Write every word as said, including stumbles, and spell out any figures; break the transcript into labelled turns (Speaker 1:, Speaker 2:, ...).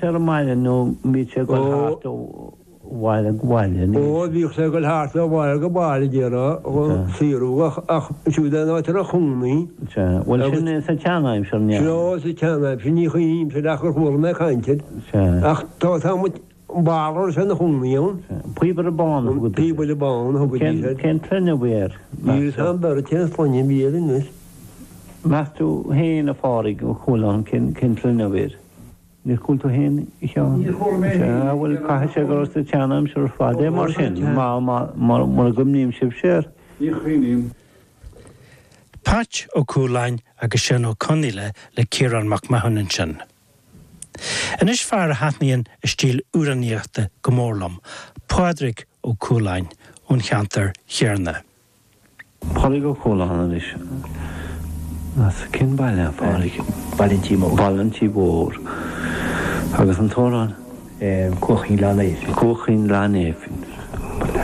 Speaker 1: sé ar an mbaile nó bhíodh sé ag dul thart ó bhaile go baile?
Speaker 2: Ó, bhíodh sé ag dul thart ó bhaile go baile déarfá, ag saothrú ach ach siúd é an áit a raibh cónaí.
Speaker 1: Sea. Bhuel sin sa tseanaimsir, ní
Speaker 2: hea? Sea, sa tseanaimsir, ní chuimhnímse ach gur chuala mé caint air.
Speaker 1: Sea.
Speaker 2: Ach tá tá muid, an barr a raibh sé ina chónaí ann.
Speaker 1: Sea. Píobaire Bán a thugaidís
Speaker 2: air. Píobaire Bán a thugaidís air.
Speaker 1: Cén tsloinne a bhí air?
Speaker 2: Níl 'fhios a'm beirt cén sloinne a bhí air anois.
Speaker 1: Meas tú féin, a Phádraig Ó Cualáin, cén sloinne a bhí air? Níor chuala tú féin, a Sheáin?
Speaker 3: Níor chuala mé féin.
Speaker 1: Sea, bhuel, caithfidh sé gur sa tseanaimsir ar fad é mar sin, mura gcuimhníonn sibhse air.
Speaker 3: Ní chuimhním.
Speaker 4: Patch Ó Cualáin agus Seán Ó Conaola le Ciarán Mac Mathúna ansin. Anois fear a thaitníonn a stíl amhránaíochta go mór liom, Pádraig Ó Cualáin ón cheantar chéarna.
Speaker 1: Pádraig Ó Cualáin anois. As cén baile, a Phádraig?
Speaker 5: Baile an Tí Mhóir.
Speaker 1: Baile an Tí Mhóir. Agus an t-amhrán?
Speaker 5: Cuachín Ghleann Naoimh.
Speaker 1: Cuachín Ghleann Naoimh.